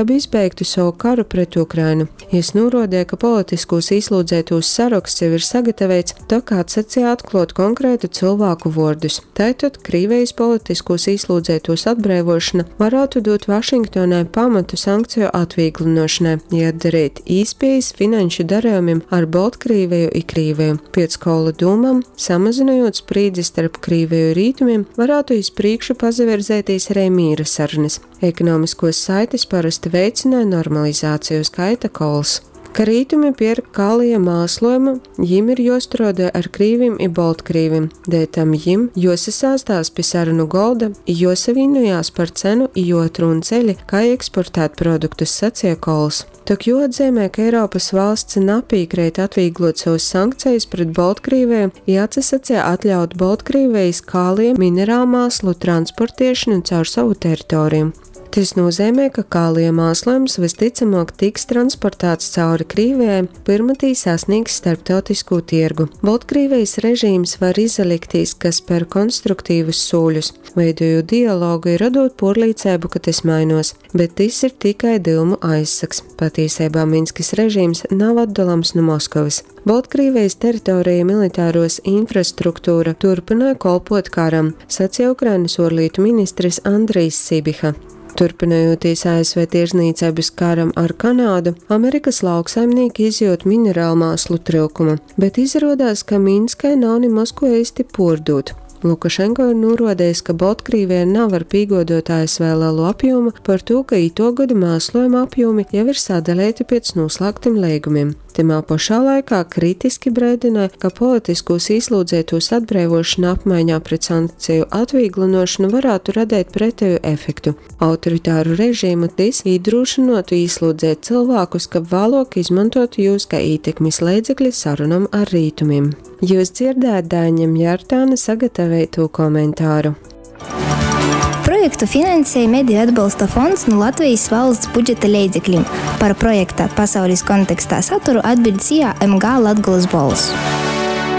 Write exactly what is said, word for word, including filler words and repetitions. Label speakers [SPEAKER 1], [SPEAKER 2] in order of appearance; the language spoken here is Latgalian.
[SPEAKER 1] Kab izbeigtu sovu karu pret Ukrainu. Jis nūruodeja, ka politiskūs īslūdzeitūs saroksts jau ir sagataveits, tok atsaceja atkluot konkrētu cylvāku vuordus. Taitod Krīvejis politiskūs īslūdzeitūs atbreivuošona varātu dūt Vašingtonai pamatu sankceju atvīglynuošonai i atdareit īspiejis finanšu darejumim ar Boltkrīveju i Krīveju. Piec Koula dūmam, samazynojūt sprīdzi starp Krīveju i Rītumim, varātu iz prīšku pasavirzeitīs ari mīra sarunys. Ekonomiskuos saitis parosti veicynoj normalizāciju, skaita Kols. Ka rītumi pierk kalija māslojumu, jim ir juostruodoj ar krīvim i boltkrīvim, deļtam jim juosasāstās pi sarunu golda i juosavīnojās par cenu i juoatrūn ceļi, kai eksportēt produktus, saceja Kols. Tok juoatzeimej, ka Eiropys valsts napīkreit atvīgluot sovys sankcejis pret Boltkrīveju i atsasaceja atļaut Boltkrīvejis kalija mineralmāslu transportiešonu caur sovu teritoriju. Tys nūzeimej, ka kalija māslojums vystycamuok tiks transportāts cauri Krīvejai, pyrma tī sasnīgs starptautiskū tiergu. Boltkrīvejis režīms var izaliktīs, ka sper konstruktivus sūļus, veidojūt dialogu i rodūt puorlīceibu, ka tys mainuos, bet tys ir tikai dyumu aizsags. Patīseibā Minskys režīms nav atdolams nu Moskovys. Boltkrīvejis teritoreja i militaruos infrastruktura turpynoj kolpuot karam, saceja Ukrainys uorlītu ministrs Andrijs Sibiha. Turpynojūtīs A S V tirdznīceibys karam ar Kanādu, Amerikys lauksaimnīki izjiut mineralmāslu tryukumu, bet izaruodās, ka Minskai nav nimoz kuo eisti puordūt. Lukašenko ir nūruodejs, ka Boltkrīveja navar pīguoduot A S V lelu apjūmu, partū ka ituo goda māslojuma apjūmi jau ir sadaleiti piec nūslāgtim leigumim. Tymā pošā laikā kritiski breidynoj, ka politiskūs īslūdzeitūs atbreivuošona apmaiņā pret sankceju atvīglynuošonu varātu radeit preteju efektu. Autoritāru režīmu tys īdrūšynuotu īslūdzeit cylvākus, kab vāluok izmontuotu jūs kai ītekmis leidzekli sarunom ar rītumim. Jius dzierdējāt Daiņa Mjartāna sagataveitū komentāru.
[SPEAKER 2] Projektu finansej Mediju atbolsta fonds nu Latvejis valsts budžeta leidzeklim. Par projekta Pasaulis kontekstā saturu atbiļd S I A M G Latgolys Bolss.